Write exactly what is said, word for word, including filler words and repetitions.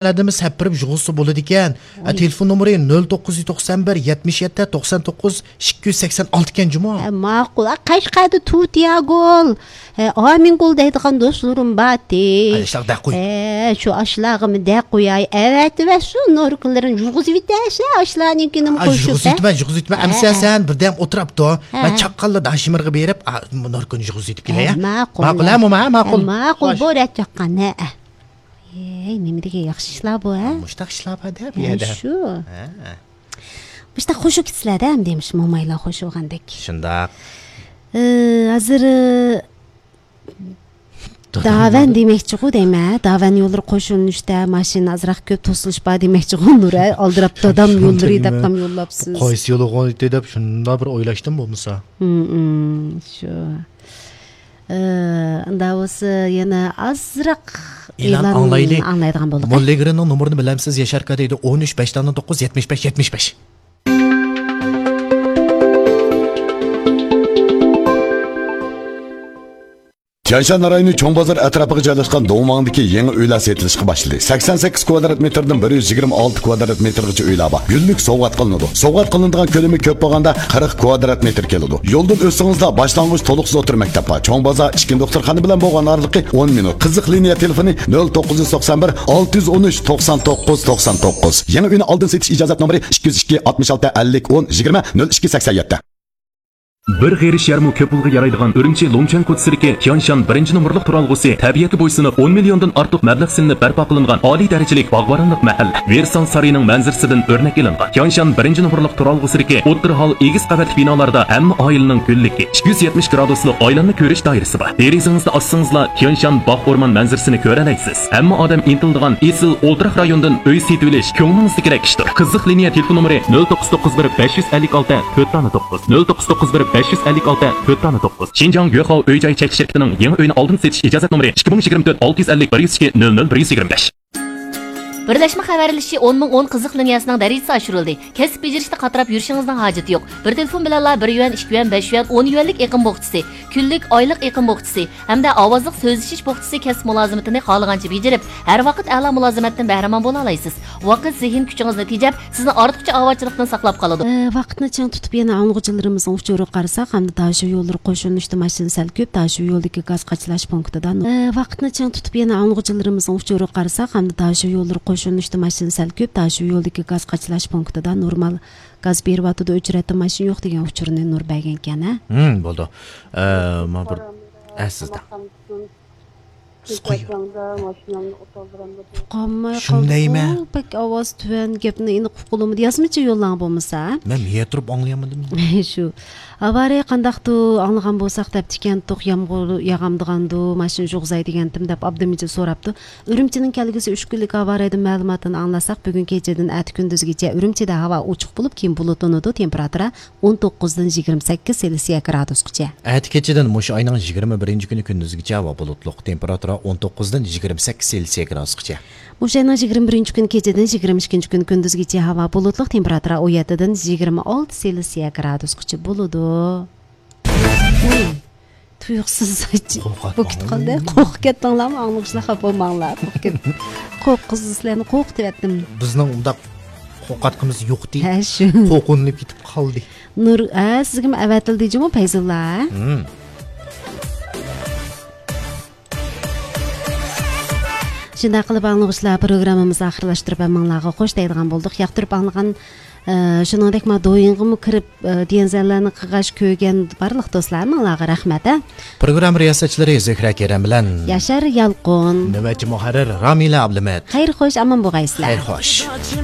ئادەمنى سەپپىرىپ يۇغۇزسا بولىدىكەن. ھە، ئوي. تېلېفون نومۇرى نۆل توققۇز يۈز توقسان بىر، يەتمىش يەتتە، توقسان توققۇز، ئىككى يۈز سەكسەن ئالتە ئىكەن جۇمۇ. ھە، ماقۇل. ھە، قەشقەردە تۇتىياگول. ھە، ئامىنگول دەيدىغان دوستلىرىم بارتى. ھە، ئاشۇلارغا دەق قوي. ھە، شۇ ئاشۇلارغىمۇ دەق قوياي. ئەۋەتىۋەتسۇن، نوركىلىرىنى يۇغۇزۇۋېتەرسەن، ئاشۇلارنىڭكىنىمۇ ھە، قوشۇپ، ھە. يۇغۇزۇۋېتىمەن، يۇغۇزۇۋېتىمەن. ھە، ئەمىسە ھە. سەن بىردەم ئولتۇرۇپتۇ. ھە، مەن ھە. چاققانلا داشىمىرغا بېرىپ، ئا، نوركىنى يۇغۇزۇۋېتىپ كېلەي، ھە، ھە؟ ماقۇل. ماقۇل، ھە، موما، ھە، ماقۇل. ھە، ماقۇل، خوش. بۇ رەت چاققان، ھە، ھە. ئەي، نېمە دېگەن ياخشى ئىشلار بۇ، ھە؟ مۇشتاق ئىشلار بار-دە بۇ ھە، يەردە. شۇ. ھە. مۇشتاق خوش بولۇپ كېتىسىلەر-دە، ئەمدى مۇشۇ مومايلار خوش بولغاندەك. شۇنداق. ئى، ھازىر، ئى، داۋەن دېمەكچىغۇ دەيمەن، ھە؟ داۋەن يوللىرى قوشۇلۇشتا ماشىنا ئازراق كۆپ توسۇلۇش بار دېمەكچىغۇ، نۇر، ھە؟ ئالدىراپ دادام يوللىرى دەپلا يوللاپسىز. قايسى يولغا دەپ شۇنداق بىر ئويلاشتىم بولمىسا. ھىم، ھىم، شۇ. ئى، ئۇنداق بولسا يەنە ئازراق ئېلان ئېلان ئاڭلايلى. ئاڭلايدىغان بولدۇق. موللىگرىنىڭ نومۇرىنى بىلەمسىز، ياشار ئاكا دەيدۇ، ئون ئۈچ، بەش نەل توققۇز، يەتمىش بەش، يەتمىش بەش. تيەنشان رايونى چوڭ بازار ئەتراپىغا جايلاشقان دوڭماڭدىكى يېڭى ئۆيلەر سېتىلىشقا باشلىدى. سەكسەن سەككىز كۋادرات مېتىردىن بىر يۈز يىگىرمە ئالتە كۋادرات مېتىرغىچە ئۆيلەر بار. گۈللۈك سوۋغات قىلىنىدۇ. سوۋغات قىلىنىدىغان كۆلىمى كۆپ بولغاندا قىرىق كۋادرات مېتىر كېلىدۇ. يولدىن ئۆتسىڭىزلا باشلانغۇچ تولۇقسىز ئوتتۇرا مەكتەپ بار. چوڭ بازار ئىككىنچى دوختۇرخانا بىلەن بولغان ئارىلىقى ئون مىنۇت. قىزىق لىنىيە تېلېفونى نۆل توققۇز يۈز توقسان بىر، ئالتە يۈز ئون ئۈچ، توقسان توققۇز، توقسان توققۇز. يېڭى ئۆينى ئالدىن سېتىش ئىجازەت نومۇرى ئىككى يۈز ئىككى، ئاتمىش ئالتە، ئەللىك، ئون، يىگىرمە، نۆل ئىككى، سەكسەن يەتتە. بىر غېرىش يەرمۇ كۆپ پۇلغا يارايدىغان ئۈرۈمچى لۇڭچۈەن كوچىسىدىكى تيانشان بىرىنچى نومۇرلۇق تۇرالغۇسى تەبىئەتكە بويسۇنۇپ، ئون مىليوندىن ئارتۇق مەبلەغ سېلىنىپ بەرپا قىلىنغان ئالىي دەرىجىلىك باغۋەنلىك مەھەللە. ۋېرسال سارىيىنىڭ مەنزىرىسىدىن ئۆرنەك ئېلىنغان. تيانشان بىرىنچى نومۇرلۇق تۇرالغۇسىدىكى ئوتتۇرا ھال، ئېگىز قەۋەتلىك بىنالاردا ھەممە ئائىلىنىڭ گۈللۈكى، ئىككى يۈز يەتمىش گرادۇسلۇق ئايلانما كۆرۈش دائىرىسى بار. دېرىزىڭىزنى ئاچسىڭىزلا، تيانشان باغ ئورمان مەنزىرىسىنى كۆرەلەيسىز. ھەممە ئادەم ئىنتىلىدىغان ئېسىل ئولتۇراق رايوندىن ئۆي سېتىۋېلىش كۆڭلىڭىزدىكىدەك ئىشتۇر. قىزىق لىنىيە تېلېفون نومۇرى نۆل توققۇز توققۇز بىر، بەش يۈز ئەللىك ئالتە، تۆت دانە توققۇز، نۆل توققۇز توققۇز بىر، بەش يۈز ئەللىك ئالتە، تۆت دانە توققۇز. شىنجاڭ يۆخاۋ ئۆي جاي چەكلىك شىركىتىنىڭ يېڭى ئۆينى ئالدىن سېتىش ئىجازەت نومۇرى ئىككى مىڭ يىگىرمە تۆت، ئالتە يۈز ئەللىك، بىر يۈز ئىككى، نۆل نۆل، بىر يۈز يىگىرمە بەش. بىرلەشمە خەۋەرلىشىشى ئون مىڭ ئون قىزىق لىنىيەسىنىڭ دەرىجىسى ئاشۇرۇلدى. كەسىپ بېجىرىشتە قاتراپ يۈرۈشىڭىزنىڭ ھاجىتى يوق. بىر تېلېفون بىلەنلا بىر يۈەن، ئىككى يۈەن، بەش يۈەن، ئون يۈەنلىك ئېقىم بوخچىسى، كۈنلۈك، ئايلىق ئېقىم بوخچىسى ھەمدە ئاۋازلىق سۆزلىشىش بوخچىسى كەسىپ مۇلازىمىتىنى خالىغانچە بېجىرىپ، ھەر ۋاقىت ئەلا مۇلازىمەتتىن بەھرىمەن بولالايسىز. ۋاقىت زېھىن كۈچىڭىزنى تېجەپ، سىزنى ئارتۇقچە ئاۋارىچىلىقتىن ساقلاپ قالىدۇ. ئە، ۋاقىتنى چىڭ تۇتۇپ، يەنە ئاڭلىغۇچىلىرىمىزنىڭ ئۇچۇرىغا قارىساق، ھەمدە داشۆ يوللىرى قوشۇلۇشتا ماشىنا سەل كۆپ، داشۆ يولىدىكى گاز قاچىلاش پونكىتىدا نۇ-، ئە، ۋاقىتنى چىڭ تۇتۇپ، يەنە ئاڭلىغۇچىلىرىمىزنىڭ ئۇچۇرىغا قارىساق، ھەمدە داشۆ يوللىرى قوشۇلۇنۇشتا ماشىنا سەل كۆپ، داشۆ يولىدىكى گاز قاچىلاش پونكىتىدا نورمال گاز بېرىۋاتىدۇ، ئۆچرەتتە ماشىنا يوق دېگەن ئۇچۇرنى نۇر بەرگەنكەن، ھە؟ ھىم، بولىدۇ. ئە، ما بىر، ئە، سىزدە. سىز قويۇڭ. تۇقاممۇ شۇندايمەن. قالدىغۇ، بەك ئاۋاز تۆۋەن، گەپنى ئېنىق ئۇققىلىمىدى. يازمىچە يوللاڭ بولمىسا. مەن يەتۈرۈپ ئاڭلىيالمىدىم. شۇ. ئاۋارىيە قانداقتۇ ئاڭلىغان بولساق دەپتىكەنتۇق، يامغۇر ياغامدىغاندۇ، ماشىنا يۇغۇزاي دېگەنتىم دەپ ئابدىمىجىت سوراپتۇ. ئۈرۈمچىنىڭ كەلگۈسى ئۈچ كۈنلۈك ھاۋا رايىدىن مەلۇماتتىن ئاڭلاساق، بۈگۈن كېچىدىن ئەتە كۈندۈزگىچە ئۈرۈمچىدە ھاۋا ئوچۇق بولۇپ، كېيىن بۇلۇتلىنىدۇ، تېمپېراتۇرا ئون توققۇزدىن يىگىرمە سەككىز سېلسىيە گرادۇسقىچە. ئەتە كېچىدىن مۇشۇ ئاينىڭ يىگىرمە بىرىنچى كۈنى كۈندۈزگىچە ھاۋا بۇلۇتلۇق، تېمپېراتۇرا ئون توققۇزدىن يىگىرمە سەككىز سېلسىيە گرادۇسقىچە. مۇشۇ ئاينىڭ يىگىرمە بىرىنچى كۈنى كېچىدىن يىگىرمە ئىككىنچى كۈنى كۈندۈزگىچە ھاۋا بۇلۇتلۇق، تېمپېراتۇرا ئون يەتتىدىن يىگىرمە ئالتە سېلسىيە گرادۇسقىچە بولىدۇ. ئۇي، تۇيۇقسىز بولۇپ كېتىپ قالدى. قورقۇپ كەتتىڭلارمۇ؟ ئاڭلىغۇچىلار خاپا بولماڭلار. قورقۇپ كەت-، قورققۇزدىن سىلەرنى قورقۇتۇۋەتتىم. بىزنىڭ ئۇنداق قورقاتقىمىز يوقتى. ھە، شۇ. قورقۇنۇپ كېتىپ قالدى. نۇر، ھە، سىزگىمۇ ئەۋەتىلدى جۇمۇ، پەيزۇللا، ھە؟ ھىم. شۇنداق قىلىپ، ئاڭلىغۇچىلار، پروگراممىمىزنى ئاخىرلاشتۇرۇپ، ھەممىڭلارغا خوش دەيدىغان بولدۇق. ياقتۇرۇپ ئاڭلىغان، ئە، شۇنىڭدەكمۇ دويىڭغىمۇ كىرىپ، ئە، دېيەنزەنلەرنى قىلغاچ كۆرگەن بارلىق دوستلار، ھەممىڭلارغا رەھمەت، ھە. پروگرامما رىياسەتچىلىرى زۆھرە كېرەم بىلەن ياشار يالقۇن. نۆۋەتچى مۇھەررىر رامىلە ئابلىمىت. خەير خوش، ئامان بولغايسىلەر. خەير خوش.